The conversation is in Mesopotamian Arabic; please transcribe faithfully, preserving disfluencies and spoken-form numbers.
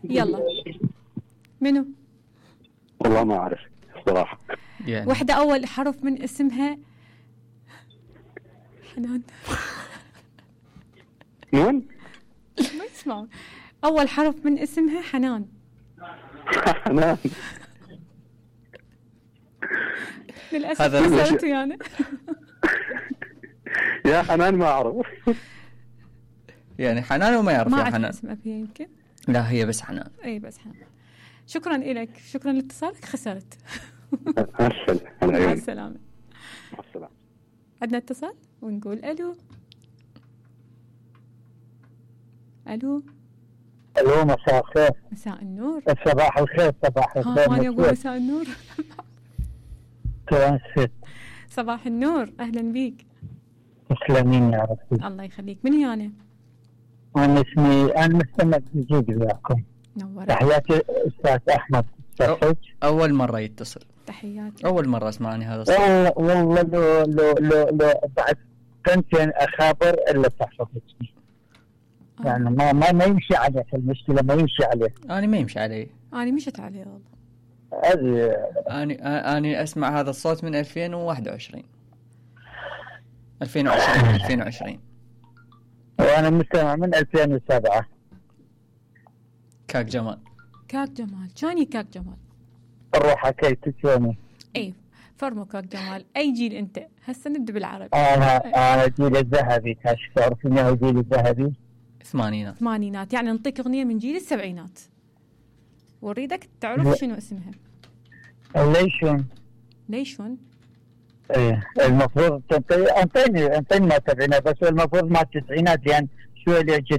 يلا منو؟ والله ما أعرف صراحة. يعني واحدة أول حرف من اسمها حنان. نون. ما يسمعون. أول حرف من اسمها حنان. حنان. للأسف هذا خسرت يعني. يا حنان ما أعرف. يعني حنان وما يعرف ما يا أعرف حنان. اسم أبيها يمكن. لا هي بس حنان. أي بس حنان. شكرا لك، شكرا لاتصالك. خسرت. مع السلامة. مع السلامة. عندنا اتصال ونقول ألو. ألو. الو مساء الخير. مساء النور. صباح الخير. صباح الخير. ها أنا أقول مساء النور. ترانسفيت. صباح النور، أهلا بيك. تسلمين يا ربي. الله يخليك. من هي أنا؟ أنا اسمي أنا مستمع جديد وياكم. نورت. تحياتي أستاذ أحمد صفج. أول مرة يتصل. تحياتي. أول مرة أسمعني هذا الصوت. والله والله لو لو لو لو بعد سنتين أخابر إلا تحفظتني. آه. يعني ما ما ما يمشي عليه المشكلة، ما يمشي عليه. أنا ما يمشي علي. أنا مشت عليه والله. هذه أنا أنا أسمع هذا الصوت من ألفين وواحد وعشرين. ألفين وعشرين ألفين وعشرين. وأنا مستمع من ألفين وسبعة. كاك جمال. كاك جمال. شاني كاك جمال؟ الروح حكيت شوني. اي فرمو كاك جمال. اي جيل انت؟ هسه نبدا بالعربي. انا انا جيل الذهبي. كاش تعرف انه هو جيل الذهبي؟ ثمانينات. ثمانينات. يعني نعطيك اغنيه من جيل السبعينات واريدك تعرف شنو اسمها. ليشون. ليشون. ايه المفروض انطيني انطيني ما تبعنا، بس المفروض ما التسعينات لان شوي اللي